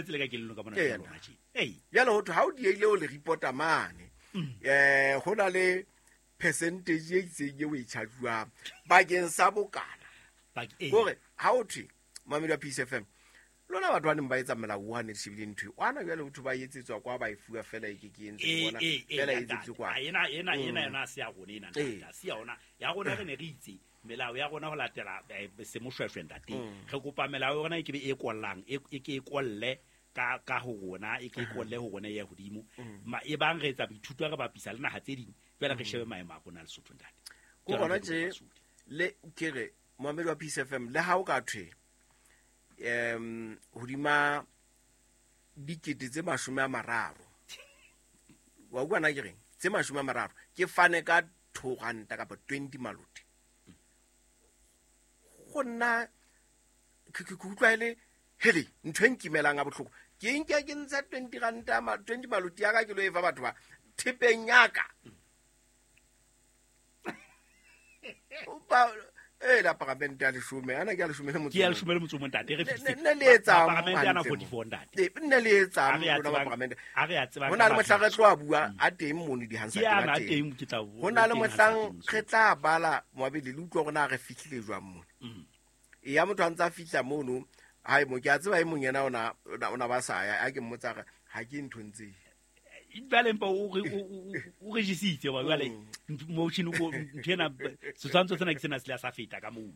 Tsele ka kelellong ka mona Ee, rona tje. Ei. Jale ho thwe ha o dieile o le reporta mane, ho na le percentage e itseng eo e charge-uwang bakeng sa bokana. Kore ha o thwe mamedi wa Peace FM, lona batho ba neng ba etsa melao wa ne shebile ntho e kwana, jwale ho thwe ba etsetswa kwa, ba e fuwa fela e ke ke entse ke bona fela e etsetswe kwa. Ena ena ena yona se ya rona ena ntate, se ya ona ya rona. Re ne re itse melao ya rona ho latela semoshweshwe ntate. Re kopa melao ya rona e ke be e kollang, e ke e kolle ka ka ho rona, e ke e kolle ho rona e ya hodimo. Ma e bang re etsa boithuto, re bapisa le naha tse ding, jwale re shebe maemo a rona Lesotho ntate. Ko gona tje le ke re moamedi wa Peace FM, le ha o ka thwe hodima 30 000, wa utlwa na ke reng, tse 30 ke fane ka 2 ranta kapa 20 maloti, go nna ke utlwa e le hele ntho e nkimelang a botlhoko. Ke nke ke ntsha 20 ranta, 20 maloti ya ka, ke lo e fa batho ba thepeng yaka e la paramente ya 10 ana ke ya 10 le motso. Ke ya 10 le motso ntate, re fihlile. Ne le etsang paramente ana 44 ntate? Nne le etsang lona ba paramente? A re a tsebang. Ho na le mohlang re tlo a bua a teng mono di-Hansard. Ke ana teng, ke tla Ho na le mohlang re tla bala moabedi le utlwa gore na re fihlile jwang mono. E ya motho a ntse a fihla mono hai mo ke a tseba e mong yena ona ba sa ya a ke mmotsa re ha ke nthong tse. Jwale mpa o regisitse wa jwale motion ko ntho ena, setshwantsho sena ke sena se le sa feta ka moo.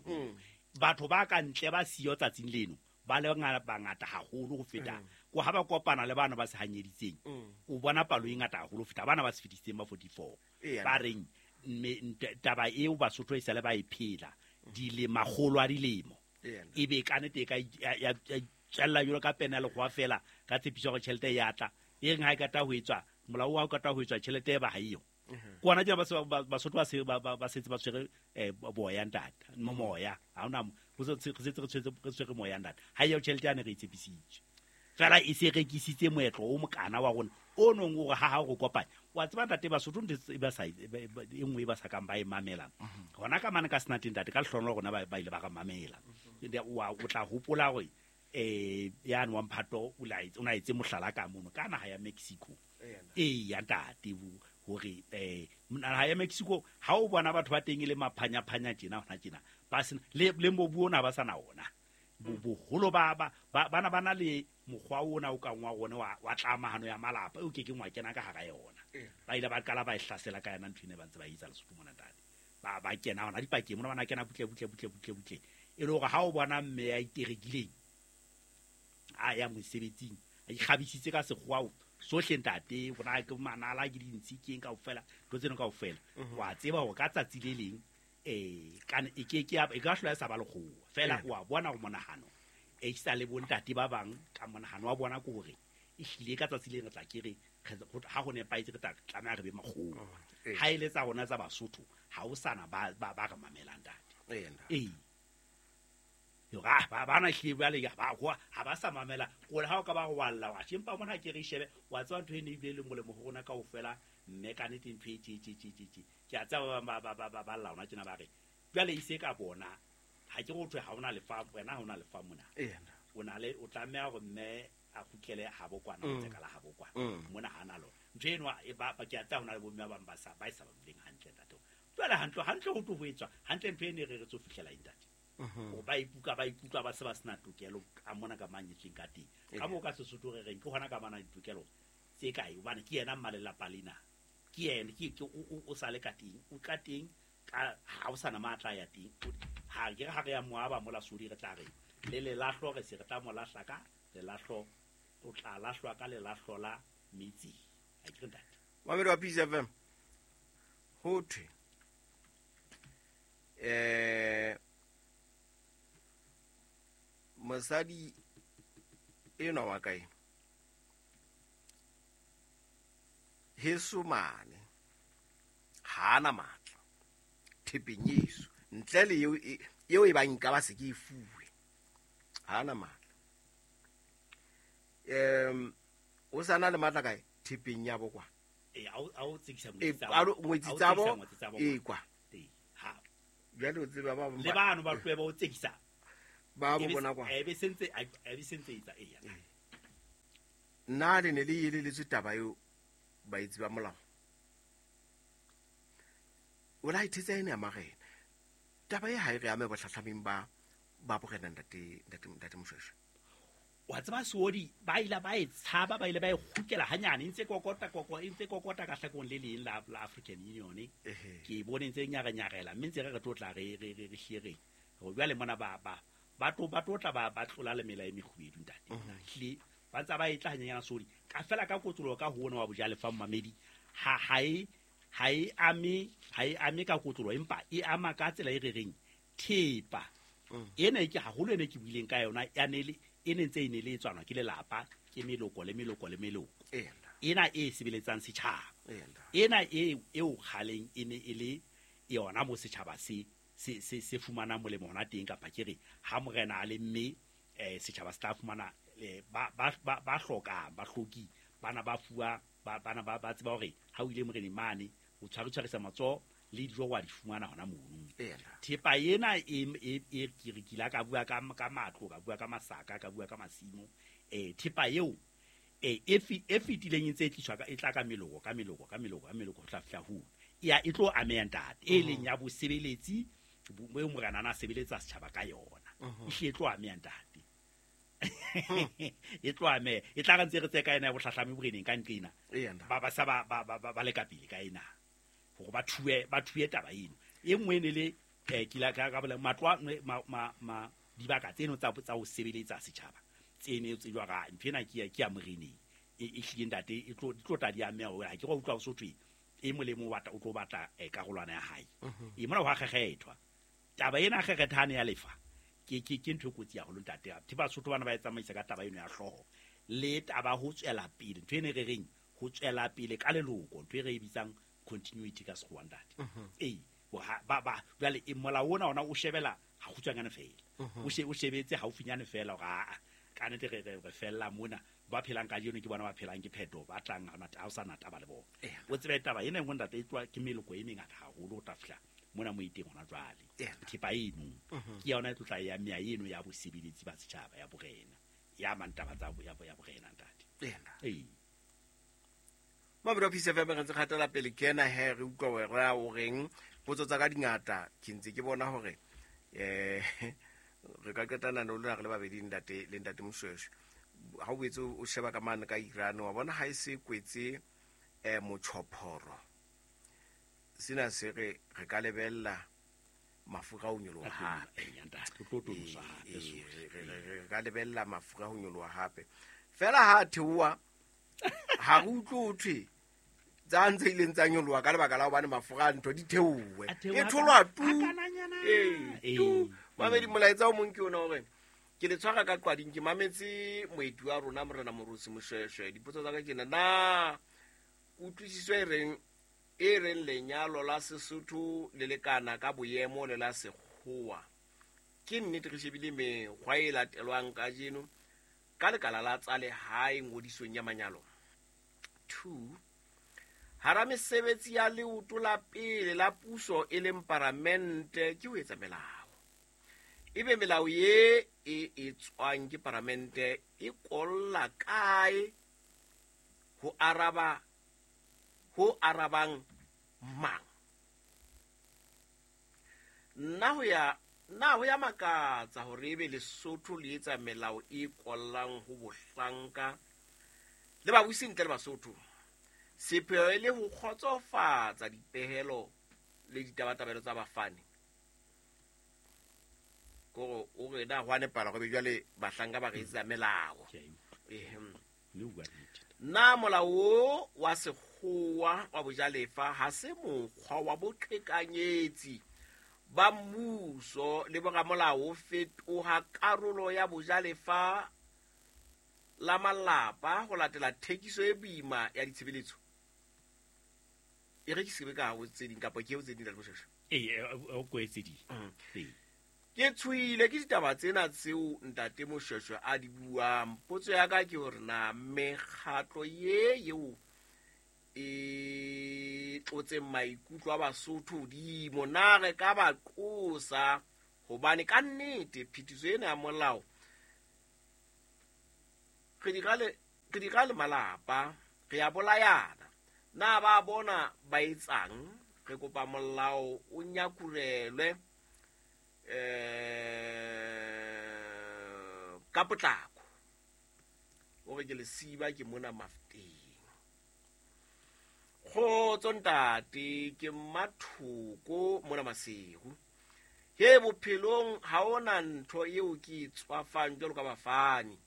Batho ba ka ntle ba siyo tsatsing leno ba le bangata haholo ho feta ko ha ba kopana le bana ba se hanyeditseng. O bona palo e ngata haholo ho feta bana ba se fetisitseng ba 44 ba reng mme taba eo Basotho e sale ba e phela makgolo a dilemo, e be ka nete e ka ya tswella jwalo ka pene ya lekgowa fela ka tshepiso ya gore tjhelete e ya tla e reng ha e kata ho etswa molao wa o kata ho etswa tjhelete e ba ha eyo. Ke ona tjena Basotho ba se ba setse ba tshwere boya ntate, moya ha ona ho se re setse re tshwere moya ntate, ha eo tjhelete yane re e tshepisitswe fela e se rekisitse moetlo o mokana wa rona o nong o re ha ha re kopanya. Wa tseba ntate, Basotho ntho e ba sa e nngwe e ba sa kang ba e mamela hona ka mane ka senateng ntate, ka lehlohonolo rona ba ile ba re mamela. Wa o tla hopola hore yane wa mphato o na etse mohlala ka mono ka naha ya Mexico ee ya ntate, hore naha ya Mexico ha o bona batho ba teng e le maphanya-phanya tjena hona tjena, ba sena le mobu ona, ba sa na ona. Boholo ba bana ba na le mokgwa ona o kang wa rona wa tlamahano ya malapa eo ke keng wa kena ka hara yona. Ba ile ba qala ba e hlasela ka yona ntho ene ba ntse ba etsa Lesotho mona ntate, ba kena hona dipakeng mona, bana kena butle butle butle butle butle, e le hore ha o bona mme ya iterekileng a ya mosebetsing a ikgabisitse ka sekgowa sohle ntate, rona ke manala ke dintshi keng kaofela ntho tseno kaofela, wa tseba hore ka tsatsi le leng kana e ke ke e ka hlola e sa ba lekgowa fela. Wa bona go monahano e sa le bontate ba bang ka monahano wa bona ke hore e hlile ka tsatsi le re tla ke re ha go nepahetse re tla tlameha re be makgowa. Ha e le tsa rona tsa Basotho ha o sana ba ba re mamelang ntate. Ee, ba bana hlile jwale ba ha ba sa mamela kore ha o ka ba go walla wa empa mona ke re shebe wa tseba ntho e ne ebile le molemo ho rona kaofela mme ka nnete ntho e tje tje tje tje tje ke a tseba ba ba ba ba ba lla hona tjena ba re jwale e se ka bona ha ke go thwe ha ona lefa wena, ha ona lefa mona o na le o tlameha hore mme a kgutlele habo kwana o tseka la habo kwana mona ha na lona ntho eno e ba ke a tseba hona le bomme ba bang ba sa ba e sa ba duleng hantle ntate. Jwale hantle hantle ho tlo ho etswa hantle ntho e ne re re tso fihlela eng ntate? Hore ba ikutlwa ba ikutlwa ba se ba sena tokelo ka mona ka manyetsweng ka teng ka moo ka Sesotho re reng ke hona ka bana ditokelo tse kae, hobane ke yena mmalelapa lena, ke yena ke o sa le ka teng, o ka teng ka ha o sana matla ya teng. Ha ke re ha re ya moaba mola sodi re tla re le lelahlo re se re tla mo lahla ka lelahlo, o tla lahlwa ka lelahlo la metsi, ha ke re ntate? Mamedi wa Peace FM, ho thwe mosadi enwa wa kae heso mane ha ana matla thepeng yeso ntle le eo e bang nka ba se ke e fuwe, ha ana matla. O sa na le matla kae thepeng ya bo kwa? A o tsekisa ngwetsi tsa bo e kwa jwale o tseba ba le bano ba tlohe ba o tsekisa ba bo bona kwa e be sentse e be sentse etsa e ya. Nna le ne le eleletswe taba eo baetsi ba molao. O la ithetsa ene ya marena. Taba e ha e re ame bohlahlameng ba borena ntate Moshweshwe. Wa tseba Seodi ba ile ba e tshaba, ba ile ba e kgutlela hanyane, ntse kokota ntse kokota ka hlakong le leng la African Union. Ke bone ntse nyarenyarela mme ntse re tlo tla re hlere. Ho jwale mona ba tlo tla ba tlola le mela e mekgubedu ntate. Hle ba ntsa ba e tla hanyana Seodi. Ka fela ka kotsolo ka ho ona wa bojalefa mmamedi ha e ame ka kotlolo, empa e ama ka tsela e re reng thepa ena ke haholo ene ke buileng ka yona ya nele e ne ntse e ne le tswanwa ke lelapa ke meloko le meloko le meloko ena e sebeletsang setjhaba ena e eo kgaleng e ne e le yona mo setjhaba se fumana molemo hona teng, kapa ke re ha morena a le mme setjhaba se tla fumana ba hlokang ba hloki bana ba fuwa bana ba tseba hore ha o ile moreneng mane o tshwaretshwarisa matsoho le dijo wa di fumana hona mono. Thepa ena e ke re kila ka bua ka matlo, ka bua ka masaka, ka bua ka masimo. Thepa eo e fetileng e ntse e tliswa ka e tla ka meloko ka meloko ka meloko ka meloko ho tla fihla ho ya e tlo ameha ntate e leng ya bosebeletsi bo morena na sebeletsa setjhaba ka yona. E tlo ameha ntate. E tlo ameha e tla re ntse re tse ka ena ya bohlahlami boreneng ka nqena ba sa ba le ka pele ka ena hore ba thue taba eno. E nngwe ne le kila ka bolela matlo ma dibaka tseno tsa ho sebeletsa setjhaba tsene tse jwa ga ntho ena ke ya moreneng e hlile ntate e tlo tla di ameha hore ha ke go utlwa ho sothwe e molemo o tlo batla karolwana ya hae. E mona ho a kgekgethwa taba ena kgekgethane ya lefa ke ntho e kotsi haholo ntate. Thi Basotho bana ba e tsamaisa ka taba eno ya hlooho le taba ho tswela pele ntho ene re reng ho tswela pele ka leloko ntho e re e bitsang continuity ka sekgowa ntate. Ba jwale e molao ona o shebela ha kgutshwanyane fela o shebetse haufinyane fela hore a ka nete re fella mona ba phelang ka jeno ke bona ba phelang ke pheto ba tlang ha o sa na taba le bona. O tsebe taba ena engwe ntate e tloha ke meloko e mengata haholo ho tla fihla mona mo iteng hona jwale. Thepa eno ke yona e tlotla ya meya eno ya bosebeletsi ba setjhaba ya borena ya mantaba tsa ya borena ntate. Mabelo Peace FM re ntse kgatela pele ke ena he re utlwa wena o reng potso tsa ka dingata ke ntse ke bona hore re ka qetana le lona re le babedi ntate le ntate Moshweshwe. Ha o boetse o sheba ka mane ka Iran wa bona ha e se kwetse motjhophoro sena se re ka lebella mafura ho nyoloha hape. Re ka lebella mafura ho nyoloha hape fela ha theoha ha re utlwe ho thwe tsa ntse ileng tsa nyoloha ka lebaka la hobane mafura a ntho di theowe e tholwa tu tu. Mamedi molaetsa o mong ke ona hore ke le tshwara ka qwading ke mametse moeti wa rona morena Morusi Moshweshwe. Dipotso tsa ka ke na kutlwisiso e reng lenyalo la Sesotho le lekana ka boemo le la sekgowa ke nnete re shebile mekgwa e latelwang kajeno ka lekala la tsa lehae ngodisong ya manyalo. 2 hara mesebetsi ya leoto la pele la puso e leng paramente ke ho etsa melao. Ebe melao ye e etswang ke paramente e kolla kae ho arabang mang? Nna ho ya makatsa hore ebe Lesotho le etsa melao e kollang ho bohlanka le babusi ntle le Basotho. Sepheo e le ho kgotsofatsa dipehelo le ditabatabelo tsa bafani. Kore o re na ho nepala gore jwale bahlanka ba re etsa melao. Na molao wa sekgowa wa bojalefa ha se mokgwa wa boqhekanyetsi ba mmuso le boramolao fetoha karolo ya bojalefa la malapa ho latela thekiso e boima ya ditshebeletso. E re ke sebe ka ho tse ding kapa ke ho tse ding la Moshweshwe. O kwetse di. Ke tshoile ke ditaba tsena tseo ntate Moshweshwe a di buang. Potso ya ka ke hore na mekgatlo ye eo e tlotseng maikutlo a Basotho hodimo na re ka ba qosa hobane ka nnete phetiso ena ya molao re di Re dira le malapa, re a bolayana. Na ba bona ba etsang, re kopa molao o nyakurelwe ka potlako. O re ke lesiba ke mona Mafteng. Kgotso ntate, ke Mmathoko mona Maseru. He bophelong ha ona ntho eo ke e tswafang jwalo ka bafani.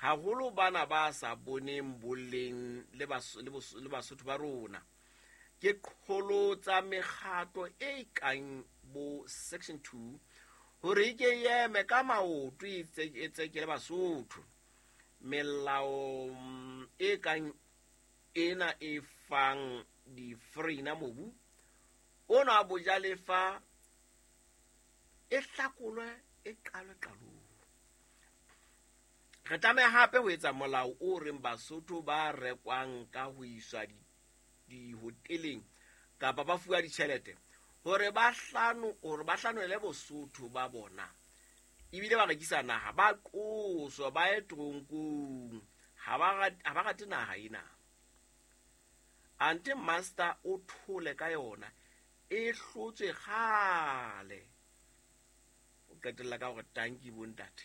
Haholo bana ba sa boneng boleng le Basotho ba rona. Ke qholotsa mekgatlo e kang bo Section 2 hore e ke eme ka maoto e tsekele Basotho. Melao e kang ena e fang di-foreigner mobu ona bojalefa e hlakolwe e qalwe qalong. Re tlameha hape ho etsa molao o reng Basotho ba rekwang ka ho iswa dihoteleng kapa ba fuwa ditjhelete hore ba hlanole Bosotho ba bona ebile ba rekisa naha, ba qoswa ba ye toronkong. Ha ba rate naha ena. Ante master o thole ka yona e hlotswe kgale. O qetella ka hore tanki bontate.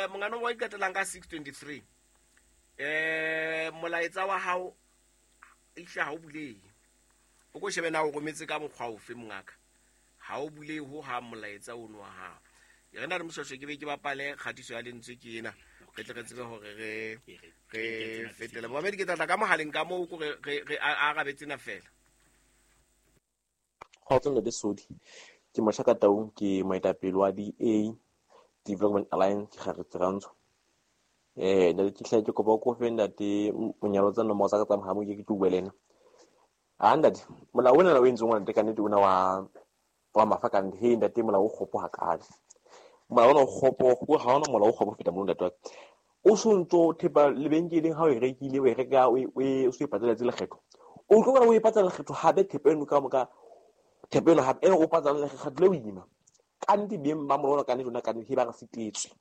Mongano wa iqetellang ka 623. Molaetsa wa hao ehle ha o bulehe. O ko shebe na o rometse ka mokgwa ofe mongaka. Ha o bulehe ho ha molaetsa ono wa hao. Re na le Moshweshwe ke be ke bapale kgatiso ya lentswe ke ena. Re tle re tsebe hore re fetele. Momedi ke tla ka mohaleng ka moo ko re arabe tsena fela. Kgotso ntate Sodi. Ke Moshaka Taung, ke moetapele wa DA Development Alliance ke gare Rantsho. Ntate ke hle ke kopa o kofe ntate monyalo tsa nomoro tsa ka tsa mohala ke tlo bua le ena. Ah ntate, molao ona o entseng ntate ka nnete ona wa mafa ka nnete, he ntate molao o kgopo hakale. Molao ona o kgopo, ha ona molao o kgopo feta mo ntate wa ka. O sontso thepa lebenkeleng ha o e rekile, o e reka o so e patala tse lekgetho. O tlo bona o e patala lekgetho hape thepa eno ka moka, thepa eno hape eno o patala lekgetho le boima. Ka nnete beng ba molao ka nnete ona ka nnete ba re sitetswe.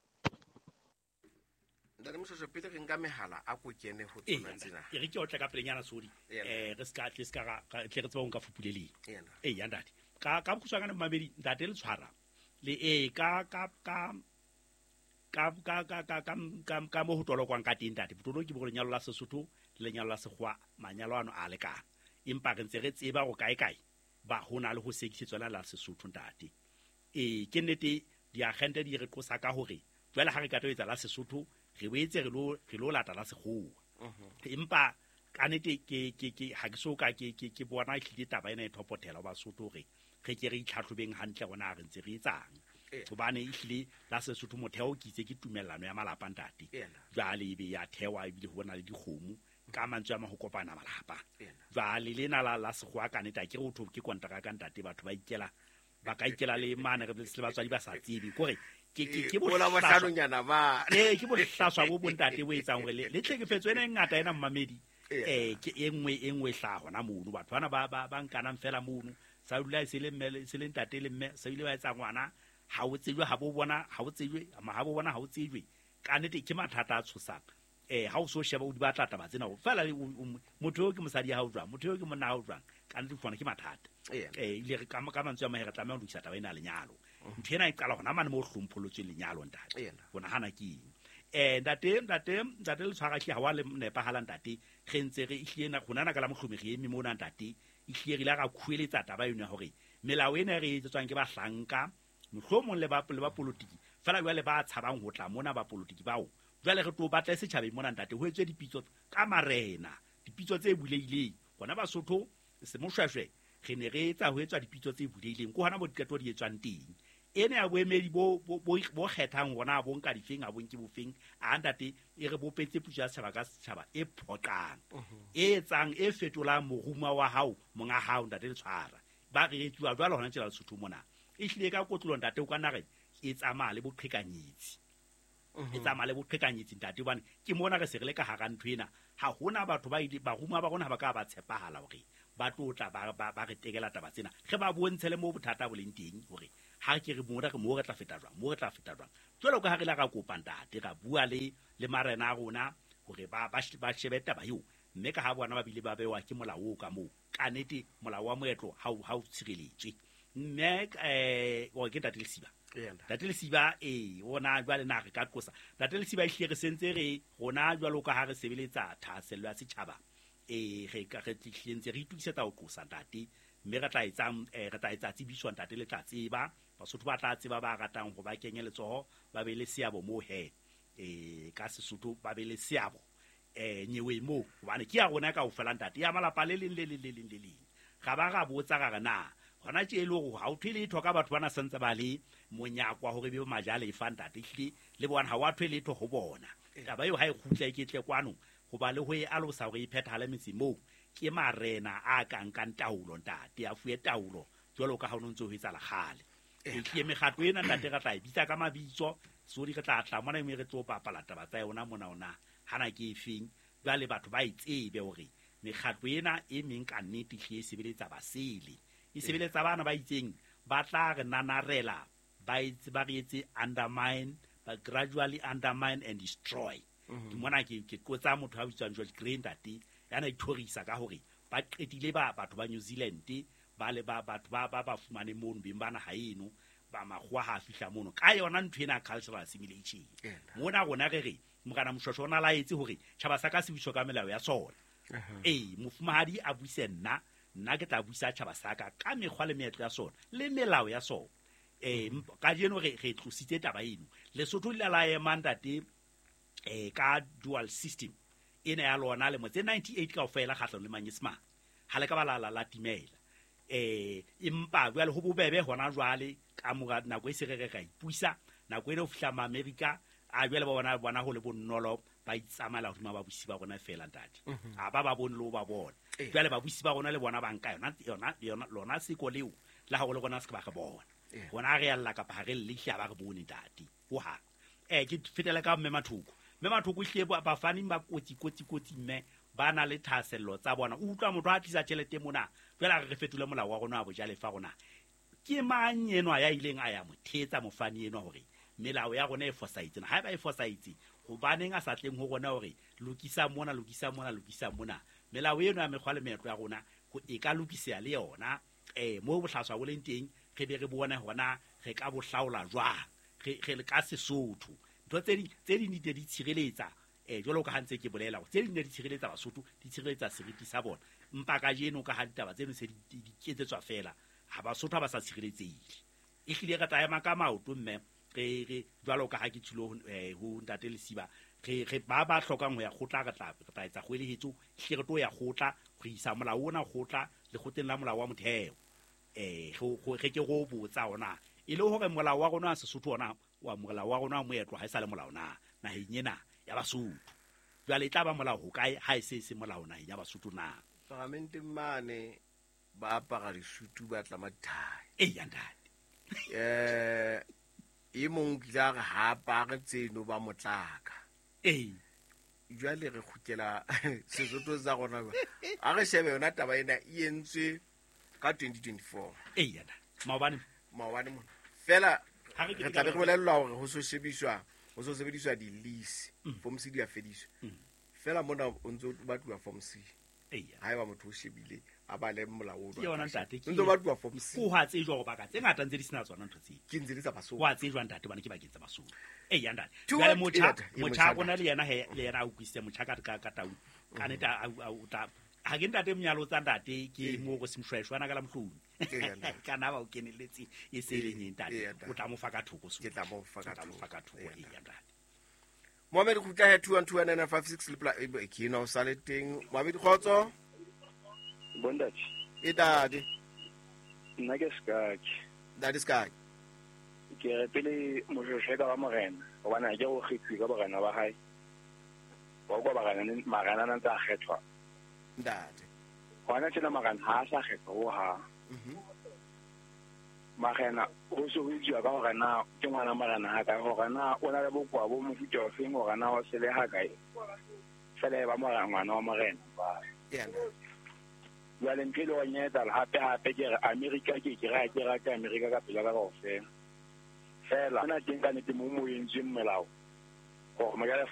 Ntate Moshweshwe pele re nka mehala a ko kene ho tsona tsena. E re ke otla ka pelenyana Sodi. Re ska tle ska ra tle re tsebe ho nka fupuleleng. Ya ntate. Ka bokgutshwanyane mamedi ntate le tshwara. Le ka ka mo ho tolokwang ka teng ntate. Botoloki bo lenyalo la Sesotho le lenyalo la Sekgowa manyalo ano a lekana. Empa re ntse re tseba go kae kae ba hona le ho sekisetswa la Sesotho ntate. Ke nnete diagente di re qosa ka hore jwale ha re ka etsa la Sesotho re boetse re lo lata la Sekgowa. Empa ka nnete ke ha ke so ka ke bona ehlile taba ena e thopothela ba Basotho hore re ke re itlhatlhobeng hantle rona re ntse re etsang. Hobane ehlile la Sesotho motheo ke itse ke tumellano ya malapa ntate. Jwale ebe ya thewa ebile ho bona le dikgomo ka mantswe a ma ho kopana malapa. Jwale lena la Sekgowa ka nnete ke re ho ke kontraka ntate batho ba ikela ba ka ikela le mane re le batswadi ba sa tsebe kore ke bohlanonyana ba ke bohlaswa bo bontate bo etsang hore le tlhekefetso ena e ngata ena mmamedi ke e nngwe hlaha hona mono batho bana ba nkanang fela mono sa dula se le mme se le ntate le mme sa ile ba etsa ngwana ha o tsejwe ha bo bona ha o tsejwe ha bo bona ha o tsejwe ka nnete ke mathata a tshosang. Ha o so sheba o di batla taba tsena fela motho eo ke mosadi ya hao jwang, motho eo ke monna hao jwang, ka nnete fona ke mathata. Ile re ka mantswe a mahe re tlameha ho lokisa taba ena ya lenyalo. Ntho ena e qala hona mane mo hlomphollotsweng lenyalo ntate. Ho nahana ke eng? Ntate le tshwara hle ha wa le nepahala ntate. Re ntse re ehlile na rona ka la mohlomi re eme mona ntate. Ehlile re ile ra khueletsa taba eno ya hore melao ena re etsetswang ke bahlanka mohlomong le ba politiki fela jwale ba tshabang ho tla mona ba politiki bao jwale re tlo batla setjhabeng mona ntate ho etswe dipitso ka marena, dipitso tse bulehileng. Hona Basotho semoshweshwe re ne re etsa ho etswa dipitso tse bulehileng ko hona bo diqeto di etswang teng. Ene ya boemedi bo kgethang hona bo nka difeng a bo nke bofeng a ntate e re bopetse puso ya setjhaba ka setjhaba e phoqang e etsang e fetolang moruma wa hao monga hao ntate le tshwara ba re etsuwa jwalo hona tjela Lesotho mona. Ehlile ka kotlolo ntate o ka nna re e tsamaya le boqhekanyetsi. E tsamaya le boqhekanyetsi ntate hobane ke mona re se re le ka hara ntho ena. Ha hona batho ba ile baruma ba rona ha ba ka ba tshepahala hore ba tlo tla ba re tekela taba tsena. Re ba bontshe le mo bothata bo leng teng hore Ha ke re mona re mo re tla feta jwang, mo re tla feta jwang. Jwalo ka ha re la ra kopa ntate, ra bua le marena a rona hore ba shebe taba eo, mme ka ha bona ba bile ba bewa ke molao o ka moo. Ka nnete molao wa moetlo ha o tshireletswe. Mme o ke Ntate Lesiba. Ntate Lesiba ona jwale na re ka qosa. Ntate Lesiba ehlile re sentse re rona jwalo ka ha re sebeletsa thahasello ya setjhaba. Re ka re tlentse re itukisetsa ho qosa ntate, mme re tla etsa re tla etsa tsebiso ntate le tla tseba. Basotho ba tla tseba ba ratang ho ba kenye letsoho, ba be le seabo moo he. Ka Sesotho ba be le seabo nyewe moo, hobane ke ya rona kaofela ntate, ya malapa le leng le leng le leng le leng. Ra ba ra botsa ra re na hona tje e le hore ha o thwe letho ka batho bana santse ba le monyako wa hore be majalefa ntate, ehlile le bona ha wa thwe letho ho bona. Taba eo ha e kgutla e ketle kwano, hoba le ho e alosa hore e phethahale metseng moo, ke marena a ka nkang taolo ntate, a fuwe taolo jwalo ka ha o ntse ho etsahala kgale. Ehlile mekgatlo ena ntate re tla e bitsa ka mabitso, sodi re tla tla mona mme re tlo bapala taba tsa yona mona ona hana ke efeng. Jwale batho ba e tsebe hore mekgatlo ena e meng ka nnete ehlile e sebeletsa basele, e sebeletsa bana ba itseng, ba tla re nanarela, ba etse ba re etse undermine, ba gradually undermine and destroy. Ke mona ke qotsa motho a bitswang George Grey ntate, ya na ithorisa ka hore ba qetile ba batho ba New Zealand, ba le ba batho ba fumane mono beng ba naha eno, ba makgowa ha fihla mono ka yona ntho ena cultural assimilation. Mona rona re re Morena Moshweshwe o na laetse hore tjhaba sa ka se buswe ka melao ya sona. Mofumahadi a buise nna, nna ke tla buisa tjhaba sa ka ka mekgwa le meetlo ya sona le melao ya sona. Kajeno re tlositse taba eno. Lesotho le la ema ntate ka dual system ena ya lona lemo tse 98 kaofela kgahlanong le Manyesemane, ha le ka ba la timela. Empa jwale ho bobebe hona jwale ka mora nako e se re ra ipusa, nako ena ho fihla Maamerika a jwale ba bona ho le bonolo, ba itsamaela hodima babusi ba rona fela ntate. Ha ba bone le ho ba bona. Jwale babusi ba rona le bona ba nka yona lona seko leo la hore le rona se ke ba re bona. Rona re alla kapa ha re lle hle ha ba re bone ntate. Hohang. Ke fetela ka mme Mathoko. Mme Mathoko ehlile bafani ba kotsi mme ba na le thahasello tsa bona. O utlwa motho a tlisa tjhelete mona, jwale a re fetole molao wa rona wa bojalefa rona. Ke mang enwa ya ileng a ya mo thetsa mofani enwa hore melao ya rona e fosahetse? Haeba e fosahetse, hobaneng a sa tleng ho rona hore lokisa mona, lokisa mona, lokisa mona? Melao eno ya mekgwa le meetlo ya rona e ka lokiseha le yona. Moo bohlaswa bo leng teng re be re bone hona re ka bo hlaola jwang, re le ka Sesotho. Ntho tse ding di tshireletsa, jwalo ka ha ntse ke bolela hore tse ding di tshireletsa Basotho, di tshireletsa seriti sa bona. Empa kajeno ka ha ditaba tseno se di ketsetswa fela, ha Basotho ha ba sa tshireletsehile. Ehlile re tla ema ka maoto mme re jwalo ka ha ke tshilo ho Ntate Lesiba, re ba hlokang ho ya kgotla, re tla etsa kgoelehetso, ehlile re tlo ya kgotla, re isa molao ona kgotla lekgotleng la molao wa motheo. Re ke go botsa ona e le hore molao wa rona wa Sesotho ona wa molao wa rona wa moetlo ha e sa le molao na naheng ena ya Basotho. Jwale e tla ba molao ho kae ha e se molao naheng ya Basotho na? Parlamenteng mane ba apara disutu ba tlama dithai. Eya ntate. E mong ke tla re ha apare tseno ba motlaka. Jwale re kgutlela Sesotho sa rona. A re shebe yona taba ena e entswe ka 2024. Eya ntate. Maobane mona. Fela re tla be re bolellwa hore ho so shebiswa, ho so sebediswa di-lease, form C di a fediswa. Fela mona o ntso batluwa form C. Haeba motho o shebile a bale molao o. Ke yona ntate, ke ntso batluwa form C. Ko ha tsejwa hore baka tse ngata ntse di sena tsona ntho tseo. Ke ntse di tsa Basotho. Ho a tsejwa ntate bana ke bakeng tsa Basotho. Eya ntate. Jwale motjha rona le yena he, le yena a utlwisitse motjha ka tau. Ka nnete a o tla ha ke ntate monyalo tsa ntate ke mo go Moshweshwe ana ka la Mohlomi. Ka na ba o keneletse e se leng eng ntate. O tla mo fa ka thoko so. Ke tla mo fa ka thoko. Eya ntate. Mohamed Khutla he 2129956 le pla ke no sa le teng. Mohamed Khotso. Bondage. E dadi. Nna ke Skaki. Dadi Skaki. Ke re pele Moshweshwe ka ba morena, hobane ha ke go kgethiwe ka borena ba hae. Wa kwa barena marena a ntse a kgethwa. Ntate. Hona tjena marena ha a sa kgethwa ho hang. Marena ho se ho itsuwa ka hore na ke ngwana marena ha kae, hore na o na le bokowa bo mofuta ofeng, hore na o sele ha kae. Fela e ba morena, ngwana wa morena. Eya. Jwale ntho e le horeng ya etsahala hape hape ke re America ke ra ke rata America ka pela ka kaofela. Fela hona teng ka nnete mo mo entsweng melao hore mojalefa.